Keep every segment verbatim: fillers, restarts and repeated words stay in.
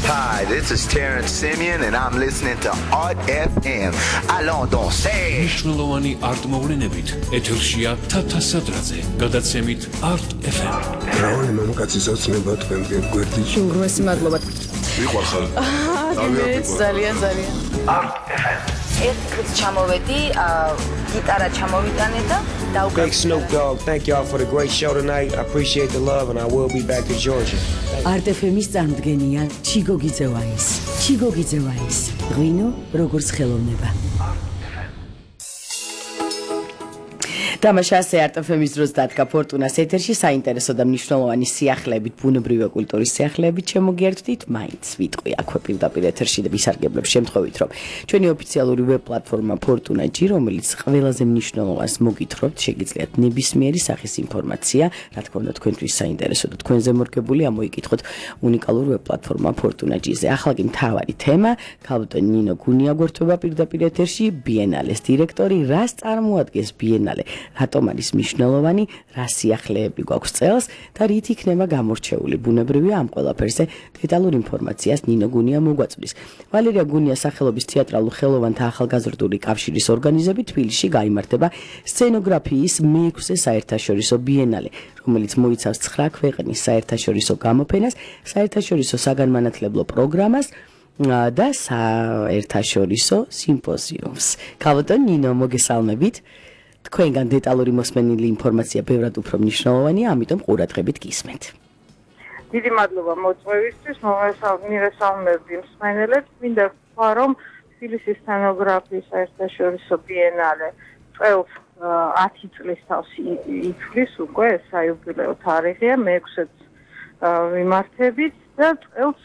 Hi, this is Terrence Simeon and I'm listening to Art F M. Allons danser. მნიშვნელოვანი არტ მოვლენებით ეთერშია თათა სადრაძე, გადაცემით Art F M. რავი მამაკაცის ოცნება თქვენგან გვერდით. უგროსი მადლობა. ვიყვარხარ. ძალიან ძალიან. Art F M. ეს კრიც ჩამოვედი, გიტარა ჩამოვიტანე და Big Snoop Dogg, thank y'all for the great show tonight. I appreciate the love and I will be back to Georgia. Art F M-ის წარმოდგენია ჩიგო გიძევაის. ჩიგო გიძევაის. ღვინო როგორც ხელოვნება. თამაშა Art F M-ის დროს დადგა ფორტუნას ეთერში საინტერესო და მნიშვნელოვანი სიახლეებით, ბუნებრივი კულტურის სიახლეებით შემოგიერთვით, მაინც ვიტყვი აქვე პირდაპირ ეთერში და ვისარგებლებ შემთხვევით, რომ ჩვენი ოფიციალური ვებ პლატფორმა Fortuna G, რომელიც ყველაზე მნიშვნელოვანს მოგითხრობთ, შეგიძლიათ ნებისმიერი სახის ინფორმაცია, რა თქმა უნდა, თქვენთვის საინტერესო და თქვენზე მორგებული ამოიკითხოთ უნიკალურ ვებ პლატფორმა Fortuna G-ზე. ახლა კი მთავარი თემა, ქალბატონი ნინო გუნია გვერდება პირდაპირ ეთერში, ბიენალეს დირექტორი, რას წარმოადგენს ბიენალე? რატომ არის მნიშვნელოვანი, რა სიახლეები გვაქვს წელს და რით იქნება გამორჩეული ბუნებრივია ამ ყველაფერზე დეტალურ ინფორმაციას ნინო გუნია მოგვაწვდის. ვალერია გუნიას სახელობის თეატრალურ ხელოვანთა ახალგაზრდული კავშირის ორგანიზებით თბილისში გაიმართება სცენოგრაფიის მეექვსე საერთაშორისო ბიენალე, რომელიც მოიცავს ცხრა ქვეყნის საერთაშორისო გამოფენას, საერთაშორისო საგანმანათლებლო პროგრამას და საერთაშორისო სიმპოზიუმს. ქალბატონ ნინო, მოგესალმებით. თქვენგან დეტალური მოსმენილი ინფორმაცია ბევრად უფრო მნიშვნელოვანია, ამიტომ ყურადღებით გისმენთ. დიდი მადლობა მოწვევისთვის, მოვესალმებდი მსმენელებს. მინდა ვთქვა, რომ თბილისის სცენოგრაფიის საერთაშორისო ბიენალე წელს ათი წლის თავს იცვლის უკვე, საიუბილეო თარიღია, მეექვსეც ვიმართებით და წელს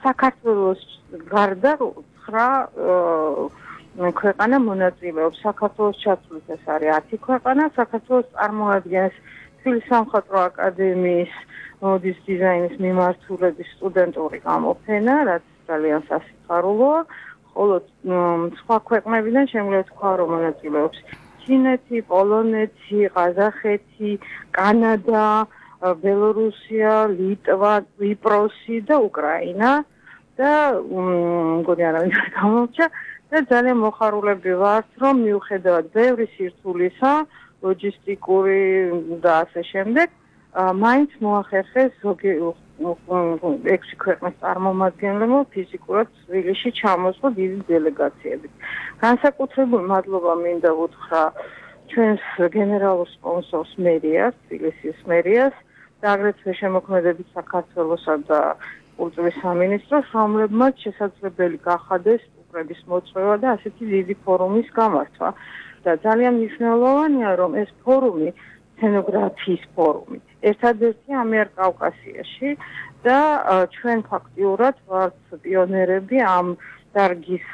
საქართველოს გარდა ცხრა ქვეყანა მონაწილეობს. საქართველოს ჩათვლით ეს არის ათი ქვეყანა. საქართველოს წარმოადგენს თბილისის სამხატვრო აკადემიის მოდის დიზაინის მიმართულების სტუდენტური გამოფენა, რაც ძალიან სასიხარულოა. ხოლო სხვა ქვეყნებიდან შემიძლია თქვა, რომ მონაწილეობს ჩინეთი, პოლონეთი, ყაზახეთი, კანადა, ბელორუსია, ლიტვა, კვიპროსი და უკრაინა და მგონი არავინ არ გამორჩა. და ძალიან მოხარულები ვართ, რომ მიუხედავად ბევრი სირთულისა, ლოჯისტიკური და ასე შემდეგ, მაინც მოახერხეს ზოგი ექვსი ქვეყნის წარმომადგენლებმა ფიზიკურად თბილისში ჩამოსვლა დიდი დელეგაციებით. განსაკუთრებული მადლობა მინდა უთხრა ჩვენს გენერალურ სპონსორს მერიას, თბილისის მერიას და აგრეთვე შემოქმედებით საქართველოსა და კულტურის სამინისტროს, რომლებმაც შესაძლებელი გახადეს პრების მოწვევა და ასეთი დიდი ფორუმის გამართვა. და ძალიან მნიშვნელოვანია, რომ ეს ფორუმი, სცენოგრაფიის ფორუმი, ერთადერთი ამიერკავკასიაში და ჩვენ ფაქტიურად ვართ პიონერები ამ დარგის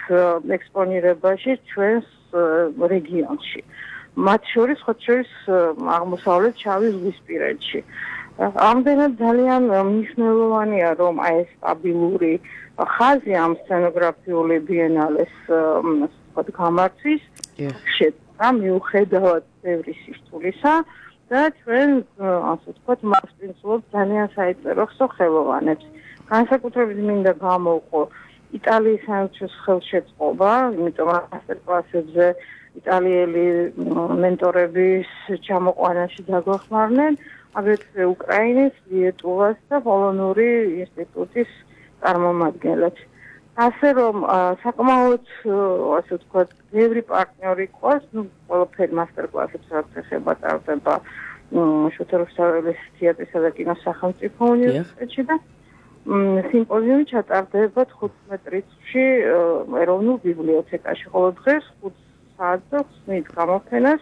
ექსპონირებაში ჩვენს რეგიონში. მათ შორის, ხოთ შორის აღმოსავლეთ შავი ზღვისპირეთში. ამდენად ძალიან მნიშვნელოვანია, რომ აი ეს სტაბილური ხაზი ამ სცენოგრაფიული ბიენალეს გამართვის შედგა მიუხედავად ბევრი სირთულისა და ჩვენ ასე ვთქვათ მასპინძლობთ ძალიან საინტერესო ხელოვანებს. განსაკუთრებით მინდა გამოვყო იტალიის საელჩოს ხელშეწყობა, იმიტომ რომ მასტერკლასებზე იტალიელი მენტორების ჩამოყვანაში დაგვეხმარნენ, აგრეთვე უკრაინის, ლიეტუვას და პოლონური ინსტიტუტის წარმომადგენლებს. ასე რომ საკმაოდ ასე ვთქვათ, ბევრი პარტნიორი ყავს, ну, ყველაფერი მასტერკლასებს რაც ეხება ტარდება შოთა რუსთაველის თეატრისა და კინოს სახელმწიფო უნივერსიტეტში და სიმპოზიუმი ჩატარდება თხუთმეტ რიცხვში ეროვნულ ბიბლიოთეკაში. ხოლო დღეს ხუთ საათს და ხსნით გამოფენას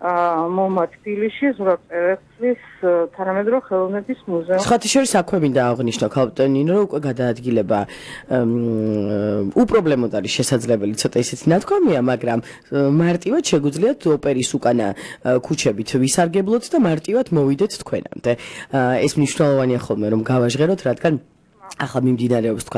მომა თბილისში ზურაბ-წერეთლის თანამედროვე ხელოვნების მუზეუმში. სხვათა შორის აქვე მინდა აღვნიშნო ქალბატონ ნინო, რომ უკვე გადაადგილება უპრობლემოდ არის შესაძლებელი, ცოტა ისეთი ნათქვამია, მაგრამ მარტივად შეგვიძლიათ ოპერის უკანა ქუჩებით ვისარგებლოთ და მარტივად მოვიდეთ თქვენამდე. ეს მნიშვნელოვანია ხოლმე, რომ გავაჟღეროთ, რადგან ახლა მიმდინარეობს